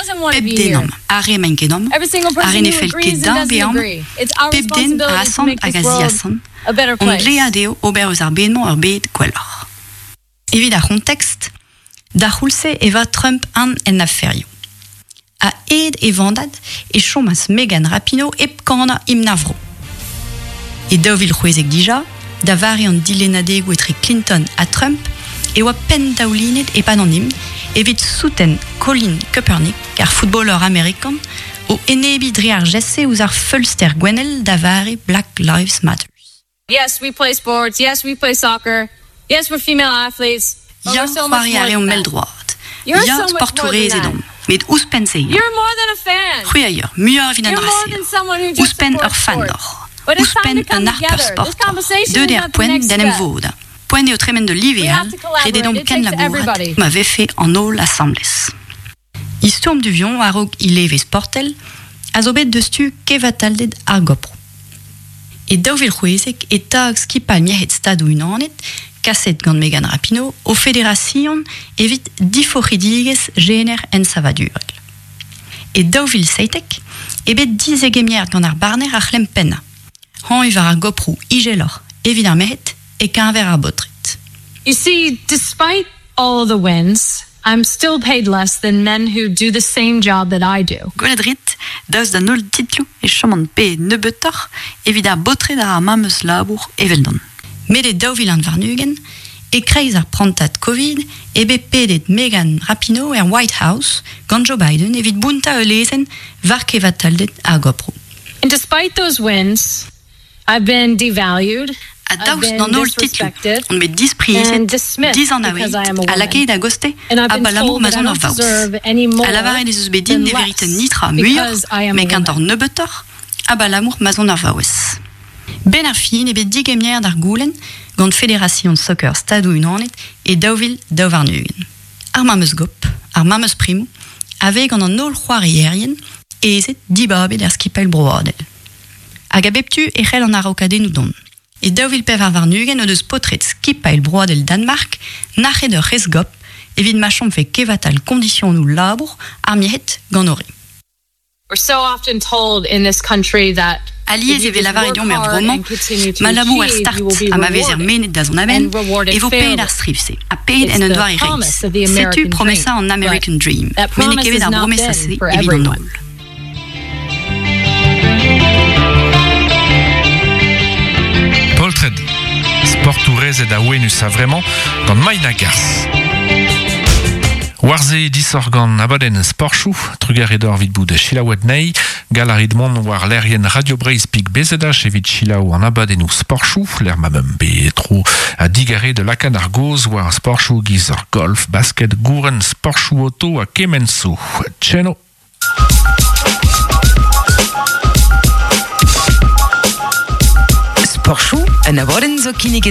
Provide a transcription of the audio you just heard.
Pep den amañ, ar re emaint ket amañ, ar re ne fell ket dezhañ bezañ amañ, pep den a asant hag a ziasant, hon dlead eo ober eus ar bed-mañ ur bed gwelloc'h. Evit ar c'hontekst, d'ar c'houlz-se e oa Trump an en aferioù. A-hed e vandad e chomas Megan Rapinoe hep kanañ himn ar vro. E 2016 dija, da vare an dilennadegoù etre Clinton ha Trump, e oa penndaoulinet e-pad an himn evit souten Colin Kaepernick, ar footballer amerikan, o enebiñ dre ar gest-se ouzh ar feulster gouennel da vare Black Lives Matter. Yes, we play sports, yes, we play soccer, yes, we're female athletes, but Ya, we're so much c'hoari a more reomp than that. mell-droad. You're Ya, so much more than sportourezed that. omp, met ouzhpenn-se eo. You're more than a fan. C'hwi a ya, muioc'h evit an You're more dra-se. than someone who just Ouzhpenn ur supports fan sports. oc'h. But it's time Ouzhpenn to come un harper together. This sport oc'h. conversation Deuet is eo ar not the poent next d'en em step. vodañ. Poent eo tremen d'ul live We all, have to ret eo collaborate. deomp It takes kenlabourat everybody. ma vefe an holl asambles. Istorm Duvion a-raok he leve sportel a zo bet deus tu kevatalded ar goproù. E 2016 e tag skipailh merc'hed Stadoù-Unanet, kaset gant Megan Rapinoe, o federasion evit diforc'hidigezh jener ensavadurel. E 2017 eo bet dizegemeret gant ar barner ar c'hlemm pennañ, hañv war ar goproù izeloc'h evit ar merc'hed e-keñver ar baotred. You see, despite all the wins, I'm still paid less than men who do the same job that I do. Gwelet 'rit, daoust d'an holl titloù e choman paeet nebeutoc'h evit ar baotred a ra ar memes labour eveldon. Met e 2021, e-kreiz ar prantad Covid, eo bet pedet Megan Rapinoe er White House gant Joe Biden evit bountañ ul lezenn war kevatalded ar goproù. And despite those wins, I've been devalued, Ha I've daoust been d'an holl titloù disrespected on bet disprizet, and dismissed dizanavezet because I am a ha woman. lakaet a-gostez And I've been abalamour told ma that I 'z on ur don't vaouez. deserve any Ha more lavaret ez eus bet din than ne veriten less netra muioc'h, because I am met a kentoc'h woman. nebeutoc'h, abalamour ma 'z on ur vaouez. Benn ar fin eo bet digemeret ar goulenn gant Federasion Soccer Stadoù-Unanet e 2022. Ar memes gop, ar memes primoù, a vez gant an holl c'hoarierien ezed dibabet er skipailh broadel. Hag a bep tu e c'hell an araokadennoù dont. E 2024 o deus paotred skipailh broadel Danmark nac'het ur c'hezgop evit ma chomfe kevatal kondisionoù labour ar merc'hed gant o re. We're so often told in this country that Alies if e you vez just lavaret work deomp er hard vro-mañ and continue to ma labour er achieve, start you will be ha ma vezer rewarded mennet da zont a-benn and rewarded e vo paeet fairly. ar striv-se ha paeet It's en un the doare reizh. promise of the Setu American promesa dream, an but American Dream, that met n'eo promise ket bet has ar not bromesa-se been for evit an everyone. holl. Poltred sportourezed awenus a-vremañ gant Maina Gars. War-se disoc'h gant abadenn sporchoù, trugarez deoc'h evit bout selaouet anezhi. Gall a rit mont war lec'hienn Radio Breizh Pik BZH evit selaou an abadennoù sporchoù, lec'h ma meump bet tro ha digarez da lakaat ar gaoz war sporchoù giz ar golf, basket, gouren, sporchoù oto ha kement zo. Tcheno! Sporchoù, un abadenn zo kinniget